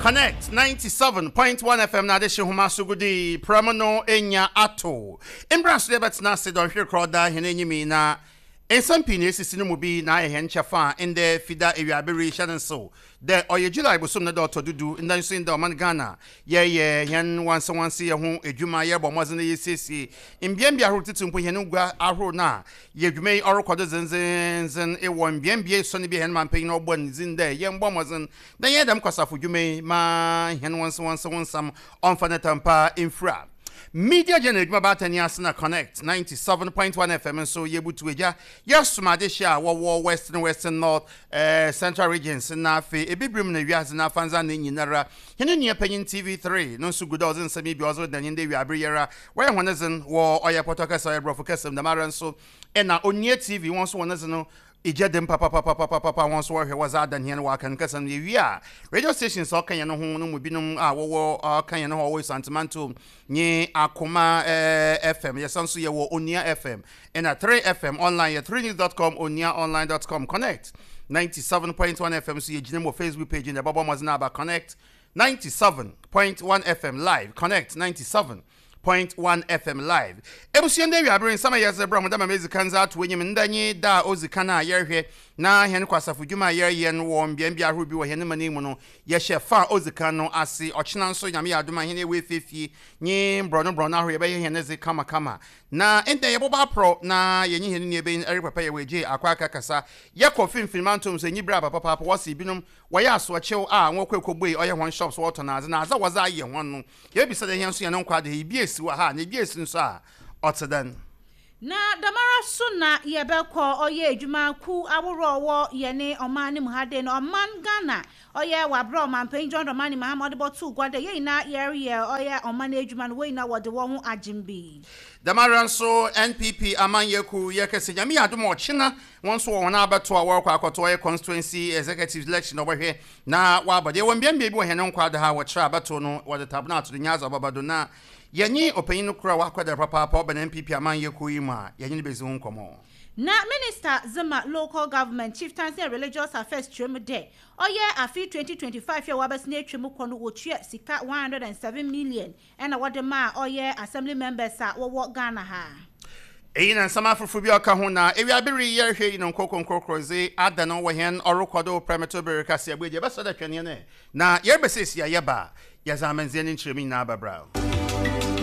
Connect 97.1 FM na adehye homa so gudi prɛm no enya ato. Mbra so yɛbɛtena ase dɔnhwere korɔ da hɛn enyim yi na nsɛm pii na esisi no mu bi na ayɛ hɛn kyɛfa a ndɛ Fida ewiaber yi hyɛ no nsew dɛ ɔyɛ July bosoom ne da ɔtɔ do du ndɛ nso ndɛ ɔman Ghana yɛreyɛ hɛn wansewanseyɛ ho edwuma yɛrobɔ mbɔdzen dɛ yesiesie mbeambea ahorow tsitsir mpo hɛn ngua ahorow no a yɛ dwuma yi ɔrokɔ do dzendzenndzen wɔ mbeambea esuon bi a hɛn mampanyin ɔbɔ ne dzin dɛ yɛmbɔ mbɔdzen na yɛnyɛ dɛm kwasafo dwuma yi ma hɛn wansewanse ho nsɛm ɔmfa ne tampa mfura. Media General edwuma baatan yi ase na Connect 97.1 FM nso yebutu egya yɛsom adehye a wɔwɔ Western, Western North, Central Regions na afei Ebibirmu na wiadze n'afandze anan nyinara. Hɛn nua panyin TV3 no nso gu do a ɔdze nsɛm yi bi a ɔdze reda hɛn ndɛ ewiaber yi ara. Wɔyɛ hɔn dzen wɔ ɔyɛ pɔtɔ kasa, ɔyɛ Borɔfo kasa mu, dɛmara nso na Onua TV hɔn so hɔn dze no egya da mu papapapapapa, hɔn so wɔhwɛ wɔdze adan hɛn wɔ Akan kasa no. Yewie a, radio stations a ɔka hɛn ho no mu binom a wɔwɔ ɔka hɛn ho a wɔwɔ Esuantse nye Akoma FM, yɛsan so yɛwɔ Onua FM na 3FM online yɛ 3news dot com, onuaonline dot com, Connect 97.1 FM so yɛgyina mu wɔ Facebook page na ɛbɛbɔ mmɔden aba Connect 97.1 FM live, Connect 97.1 FM live. Ebusua ndɛ ewiabere nsɛm a yɛdze brɛ ho dɛ ma medzi kan dze ato enyim ndɛ nye da a odzi kan a yɛrehwɛ na hɛn kwasafo dwuma a yɛreyɛ no wɔ mbeambea ahorow bi wɔ hɛn man yi mu no yɛhyɛ fa a odzi kan no ase. Ɔkyena nso Nyame yɛ adom a hɛn ewu efiefie nye mborɔno mborɔno ahorow yɛbɛyɛ hɛn dze kamakama. Na ndɛ yɛbɔbɔ aprɔw na yɛnye hɛn nuabanyin Eric Papa Yɛwɔ akɔ akɛkasa. Yɛkɔ finimfin mantɔw mu so enyi ber aba papaapa wɔse binom wɔyɛ asoɔkyew a wɔkɔ ekobue ɔyɛ hɔn shops wɔtɔn adze na adze a wɔdze ayɛ hɔn no yebisa dɛ hɛn so hɛn nkwa de bi esi wɔ ha na bi esi nso a ɔtse dɛn? Na dɛmara so na yɛbɛkɔ ɔyɛ edwuma kuw ahorow a ɔwɔ yɛne ɔman no mu ha dei no ɔman Ghana ɔyɛ wɔ aber a Ɔmampanyin John Dramani Mahama ɔde bɔtoo gua dɛ yɛn nyinaa yɛreyɛ ɔyɛ ɔman edwuma no wɔn nyinaa wɔde wɔn ho agyem bi. Dɛmara nso NPP amanyɛkuw yɛ kɛse Nyame yɛ adom a ɔkyena wɔn nso wɔ hɔn abatow a wɔrokɔ akɔto ɔyɛ constituency executives election na wɔbɔhwɛ na wɔabɔ do. Yɛwɔ mbeambea bi wɔ hɛn nkwado ha a wɔkyerɛ abatow no wɔdze tabona ato do nye adze a ɔbɛba do na yɛnye ɔpanyin no kor a ɔakwadar papaapa ɔbɛn NPP amanyɛkuw yi mu a yɛnye no bedzi ho nkɔmbɔ. Na Minister dze ma Local Government, Chieftaincy and Religious Affairs kyerɛ mu dɛ, ɔyɛ afe 2025 yi a wɔabɛsen etwa mu kɔ no wotua sika 107 million na wɔde maa ɔyɛ Assembly members a wɔwɔ Ghana ha. Iyi na nsɛm afofor bi a ɔka ho na ewiaber yi yɛrohwɛ yi no nkorkor nkorkor dze adan wɔ hɛn ɔrokɔ do prɛmtober ber kaseɛbɔ yi dze, yɛbɛsrɛ dɛ twɛn hɛn ɛ na yɛreba siesie a yɛba a, yɛdze amandzeɛ ne nkyerɛmu nyina bɛbrɛ wo.